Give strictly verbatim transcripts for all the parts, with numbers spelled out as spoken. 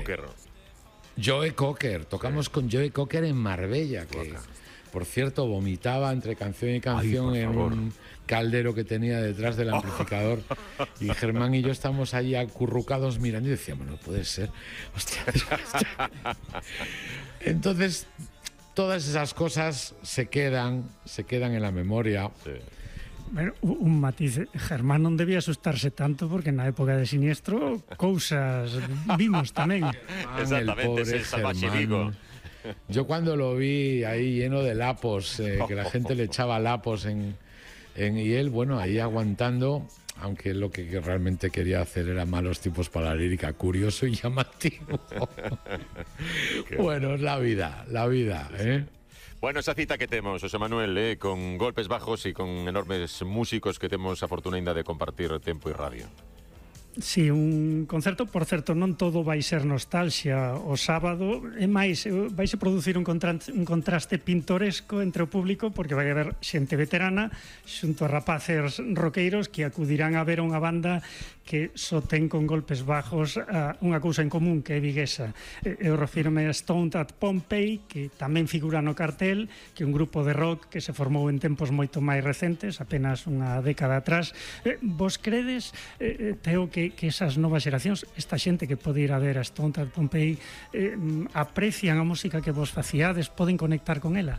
Cocker. Joe Cocker, tocamos sí. con Joe Cocker en Marbella, que Coca. por cierto vomitaba entre canción y canción Ay, en favor. un caldero que tenía detrás del amplificador y Germán y yo estamos allí acurrucados mirando y decíamos, no puede ser, hostia, hostia. Entonces todas esas cosas se quedan, se quedan en la memoria. Sí. Bueno, un matiz, Germán non debía asustarse tanto porque na época de Siniestro cousas vimos tamén. Exactamente, es el salvaje Vigo. Yo cuando lo vi ahí lleno de lapos, eh, que la gente le echaba lapos en, en, y él, bueno, ahí aguantando, aunque lo que realmente quería hacer era malos tipos para la lírica, curioso y llamativo. Bueno, es la vida, la vida, ¿eh? Bueno, esa cita que temos, José Manuel, eh, con golpes bajos e con enormes músicos que temos a fortuna ainda de compartir tempo e radio. Sí, un concerto, por certo, non todo vai ser nostalgia o sábado, é máis, vaise producir un contraste, un contraste pintoresco entre o público porque vai haber xente veterana xunto a rapaces roqueiros que acudirán a ver unha banda que só ten con golpes bajos uh, unha cousa en común que é viguesa. Eu refírome a Stoned at Pompeii, que tamén figura no cartel, que é un grupo de rock que se formou en tempos moito máis recentes, apenas unha década atrás. Eh, vos credes, eh, Teo, que que esas novas xeracións, esta xente que pode ir a ver a Stoned at Pompeii, eh, aprecian a música que vos faciades, poden conectar con ela?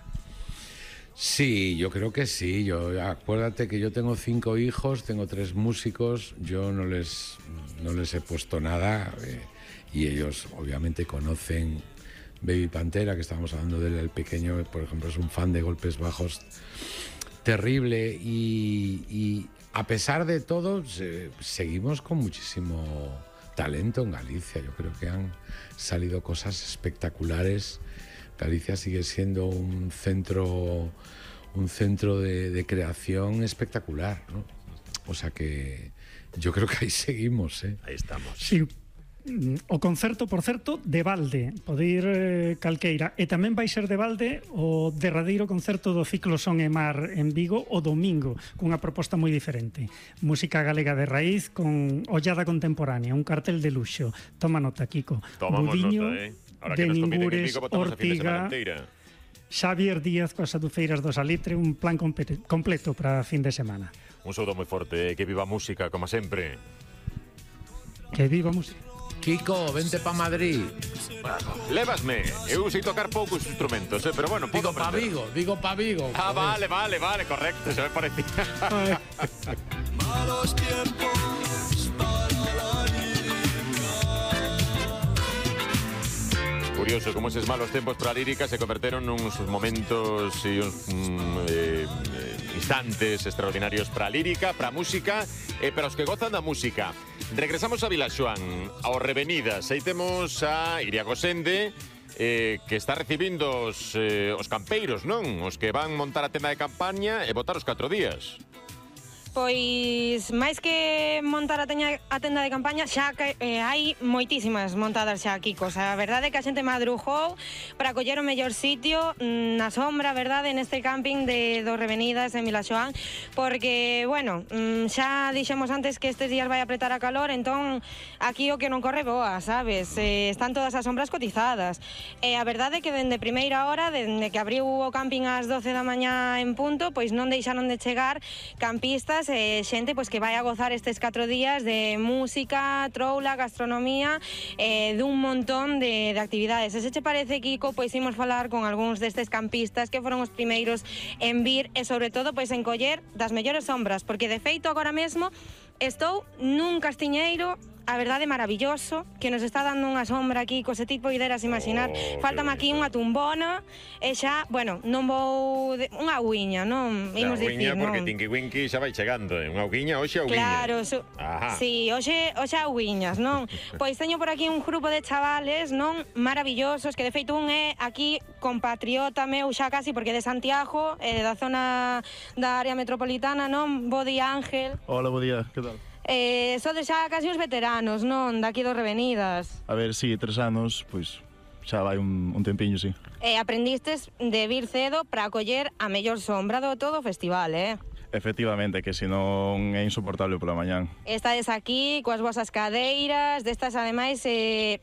Sí, yo creo que sí. Yo, acuérdate que yo tengo cinco hijos, tengo tres músicos, yo no les, no les he puesto nada eh, y ellos obviamente conocen Baby Pantera, que estábamos hablando de él, el pequeño, por ejemplo, es un fan de golpes bajos terrible y... y a pesar de todo, se, seguimos con muchísimo talento en Galicia. Yo creo que han salido cosas espectaculares. Galicia sigue siendo un centro, un centro de, de creación espectacular, ¿no? O sea que yo creo que ahí seguimos, ¿eh? Ahí estamos. Sí. O concerto, por certo, de balde, pode ir eh, calqueira, e tamén vai ser de balde o derradeiro concerto do ciclo Son e Mar en Vigo o domingo, cunha proposta moi diferente. Música galega de raíz con ollada contemporánea, un cartel de luxo. Toma nota, Kiko. Tomamos Budiño, nota, eh? Ahora de que nos Ningures, Vigo, Ortiga, Xavier Díaz coas adufeiras do Salitre, un plan completo para fin de semana. Un saúdo moi forte, eh? Que viva a música, como sempre. Que viva a música. Kiko, vente pa Madrid. Lévasme, eu sei tocar poucos instrumentos, eh, pero bueno, digo pa Vigo, digo pa Vigo. Ah, vale, vale, vale, correcto, se me parecía. Malos tiempos para la lírica. Curioso como eses malos tempos para a lírica se converteron nuns momentos e uns mm, eh, instantes extraordinarios para a lírica, para a música e para os que gozan da música. Regresamos a Vilaxoán, ao Revenidas. Aí temos a Iria Gosende, eh, que está recibindo os, eh, os campeiros, non? Os que van montar a tenda de campaña e botar os catro días. Pois, máis que montar a, teña, a tenda de campaña, xa que, eh, hai moitísimas montadas xa aquí, cosa. A verdade é que a xente madrujou para coller o mellor sitio na sombra, verdade, neste camping de dos Revenidas en Vilaxoán, porque, bueno, xa dixemos antes que estes días vai apretar a calor, entón aquí o que non corre boa, sabes? Eh, están todas as sombras cotizadas. E a verdade é que dende primeira hora, dende que abriu o camping ás doce da mañá en punto, pois non deixaron de chegar campistas e xente pois que vai a gozar estes catro días de música, troula, gastronomía, eh, dun montón de, de actividades. E se che parece, Kiko, pois imos falar con algúns destes campistas que foron os primeiros en vir e sobre todo pois en coller das mellores sombras, porque de feito agora mesmo estou nun castiñeiro, a verdade, maravilloso, que nos está dando unha sombra aquí, cose tipo ideras imaginar. Oh, Faltame aquí unha tumbona e xa, bueno, non vou de, unha auguiña, non? Imos dicir, non? Porque Tinky Winky xa vai chegando, eh? Unha auguiña, hoxe auguiña. Claro, su... sí, hoxe, hoxe auguiñas, non? Pois teño por aquí un grupo de chavales, non? Maravillosos, que de feito un é aquí compatriota meu xa casi, porque de Santiago, eh, da zona da área metropolitana, non? Bo día, Ángel. Hola, bo día, que tal? Eh, sodes xa casi uns veteranos, non? Daqui dos Revenidas. A ver, sí, tres anos, pois xa vai un, un tempiño, sí. E eh, aprendistes de vir cedo para coller a mellor sombra do todo o festival, eh? Efectivamente, que senón é insoportable pola mañán. Estades aquí coas vosas cadeiras, destas ademais eh,